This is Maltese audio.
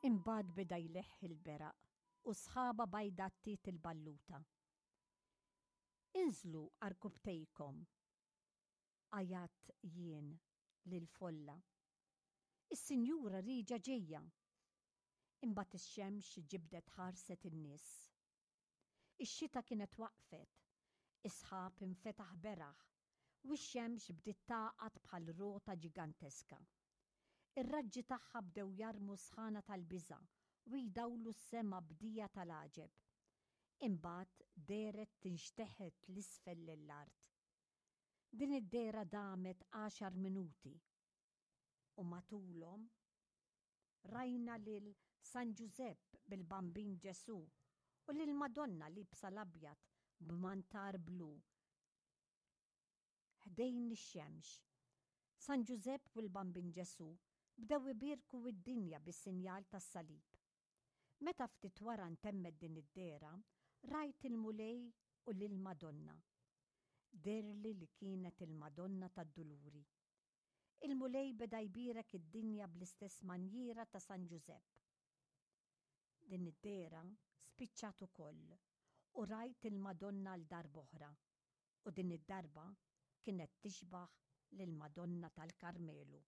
Imbagħad beda jleħħ il-beraq u sħaba bajda għattiet il-balluta. Inżlu għarkupptejkom, għajjatt jien lill-folla. Is-Sinjura Rieġa ġejja! Imbagħad ix-xemx ġibdet ħarset in-nies. Ix-xita kienet waqfet, is-sħab infetaħ beraħ u x-xemx bdiet tagħqad bħal rota ġiganteska. Ir-raġġi tagħha bdew jarmu sħana tal-biża' u jdawlu s-sema b'dija tal-għaġeb. Imbagħad dehret tinxteħet 'l isfel lill-art. Din id-dehra damet għaxar minuti u matulhom rajna lil San Ġużepp bil-Bambin Ġesù u lill-Madonna liebsa l-abjad b'mantar blu ħdejn ix-xemx. San Ġużepp u l-Bambin Ġesù bdew ibierku d-dinja bis-sinjal tas-salib. Meta ftit wara ntemmet din id-dehra, rajt il-Mulej u lill-Madonna. Dehrli li kienet il-Madonna tad-Duluri. Il-Mulej beda jbierek id-dinja bl-istess manjiera ta' San Ġużepp. Din id-dehra spiċċat ukoll u rajt il-Madonna għal darb'oħra u din id-darba kienet tixbah lill-Madonna tal-Karmelu.